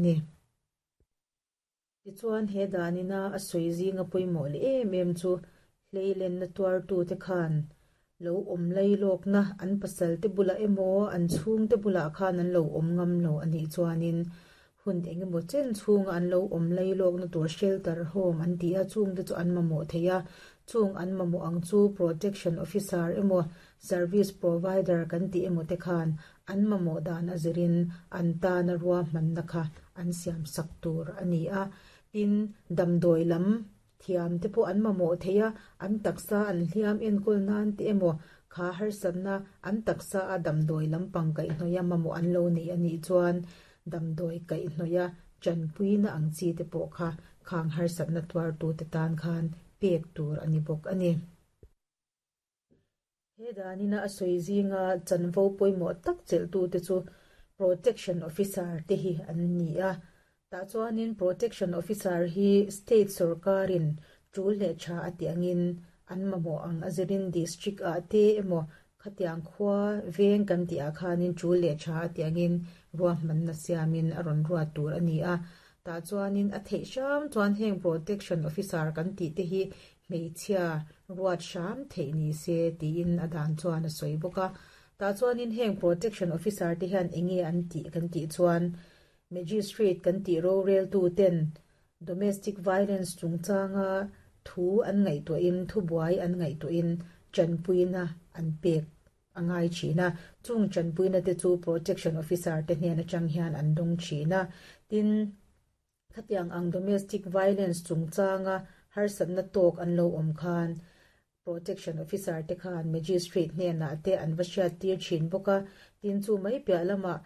ni. Tichuan he danina a sawi zinga pawimawh leh em em chu hleilenna tuartute khan lo awm lailawkna an pasalte bulah emaw an chhungte bulah khan an lo awm ngam lo a nih chuanin hun engemaw chen chhunga an lo awm lailawkna tur shelter home an ti a, chungte chu an mamawh thei a, chung an mamawh ang chu protection officer emaw service provider kan tih emaw te khan an mamawh dan a zirin an tana ruahmanna kha an siam sak tur a ni a. Tin, damdawi lam thiam te pawh an mamawh thei a, an taksa an hliam enkawl nan te emaw kha harsatna an taksa a damdawi lampang kaihhnawih a mamawh an lo nei a nih chuan damdawi kaihhnawih a tanpuina ang chi te pawh kha khang harsatna tuartute tan khan pek tur a ni bawk a ni. He danina a sawi zinga chanvo pawimawh tak chelhtute chu Protection Officer te hi an ni a. Tah chuanin Protection Officer hi State sawrkarin tul leh tha a tih angin an mamawh ang a zirin District ah te emaw khatiang khua veng kan tih ah khanin tul leh tha a tih angin ruahmanna siamin a rawn ruat tur a ni a. Tah chuanin a theih hram chuan heng Protection Officer kan tih te hi Hmeichhia ruat hram theih ni se tiin a dan chuan a sawi bawk a. Tah chuanin heng Protection Officer te hian enge an tih kan tih chuan Magistrate kan tih roreltu ten Domestic Violence chungchanga thu an ngaihtuahin thubuai an ngaihtuahin tanpuina an pek a ngai thin a. Chung tanpuina te chu Protection Officer te hnen atang hian an dawng thin a. Tin. Khatiang ang domestic violence chungchanga harsatna tawk an lo awm khan Protection Officer te khan Magistrate hnenah te an va hriattir thin bawk a, tin chu mai piah lamah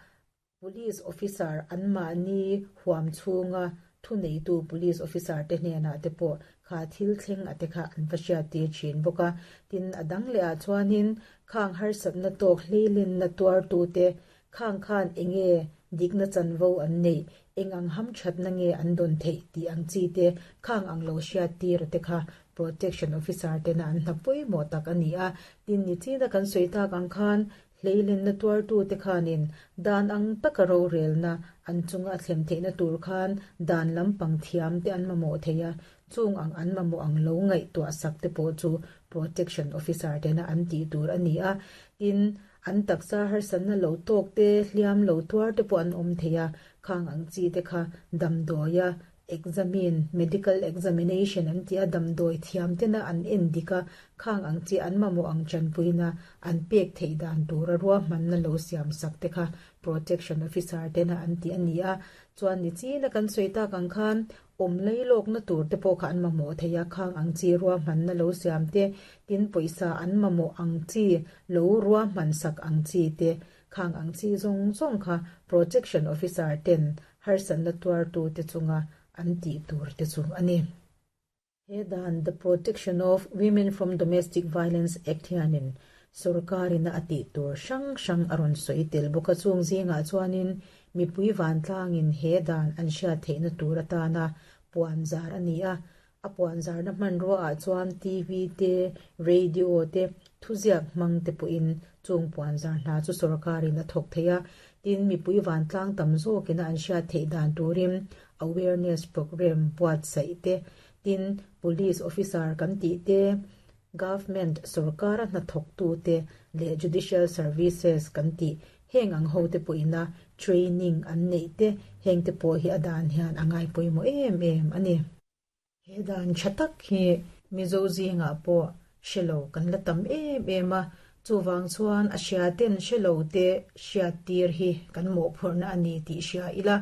Police Officer anmahni huam chhunga thuneitu Police Officer te hnenah te pawh kha thil thleng a te kha an va hriattir thin bawk a. Tin a dang leh ah chuanin khang harsatna tawk hleilenna tuartute Khang khan enge dikna chanvo an neih, eng ang hamthatna nge an dawn theih tih ang chi te khang ang lo hriat tir te kha Protection Officer tena an hna pawimawh tak a ni a. Tin, nichina kan sawi tak ang khan hleilenna tuartu te khanin dan ang taka rorelna an chunga a thlem theihna tur khan dan lampang thiam te an mamawh thei a, chung ang an mamawh ang lo ngaihtuah sak te pawh chu Protection Officer tena an tih tur a ni a. Tin, An taksa harsatna lo tawk te, hliam lo tuar te pawh an awm thei a, khang ang chi te kha damdawia examine, medical examination an tih a, damdawi thiam tena an en dik a, khang ang chi an mamawh ang tanpuina an pek theih dan tura ruahmanna lo siam sak te kha protection officer tena an tih a ni a. Chuan nichina kan sawi tak ang khan Awm leilawkna tur te pawh kha an mamawh thei a, khang ang chi ruahmanna lo siam te, tin pawisa an mamawh ang chi lo ruahman sak ang chi te, khang ang chi zawng zawng kha Protection Officer ten harsatna tuartu te chunga an tih tur te chu a ni. He dan The Protection of Women from Domestic Violence Act hianin sorkarina a tih tur hrang hrang a rawn sawi tel bawk a, chung zingah chuanin Mipui vantlangin he dan an hriat theihna tur atana puanzar a ni a, a puanzarna hmanruaah chuan TV te, radio te, thuziak hmang te pawhin chung puanzar hna chu sorkarin a thawk thei a, tin mipui vantlang tam zawkina an hriat theih dan turin awareness programme buatsaih te, tin police officer kan tih te, government sorkara hnathawktute leh judicial services kan tih Heng ang hote pawhina training an neih te heng te pawh hi a dan hian a ngai pawimawh em em a ni. He dan tha tak hi Mizo zingah pawh hre lo kan la tam em em a, chuvang chuan a hria ten hre lo te hriat tir hi kan mawhphurhna a ni tih hria ila,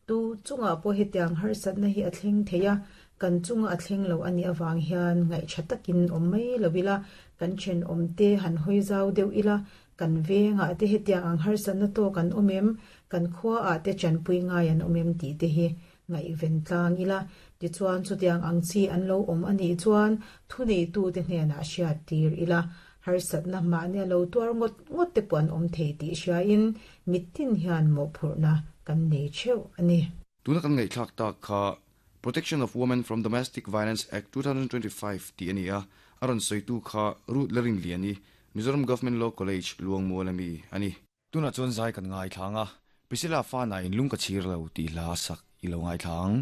tu chungah pawh hetiang harsatna hi a thleng thei a, kan chunga a thleng lo a nih avang hian ngaihṭha takin awm mai lo ila, kan thenawm te han hawi zau deuh ila, Kan vengah te hetiang ang harsatna tawk an awm em? Kan khuaah te tanpui ngai an awm em tih te hi ngaihven tlang ila. Tichuan chutiang ang chi an lo awm a nih chuan thuneitute hnenah hriat tir ila. Harsatna mahnia lo tuar ngawt ngawt te pawh an awm thei tih hriain mittin hian mawhphurhna kan nei theuh a ni. Tuna kan ngaihthlak tak kha Protection of Women from Domestic Violence Act 2025 tih a ni a, a rawn sawitu kha Ruth Larinliani, Mizoram Government Law College, Luangmual ami a ni. Tunah chuan zai kan ngaithlang a, Priscilla Fana in lung ka chhir lo tih hla a sak i lo ngaithla ang.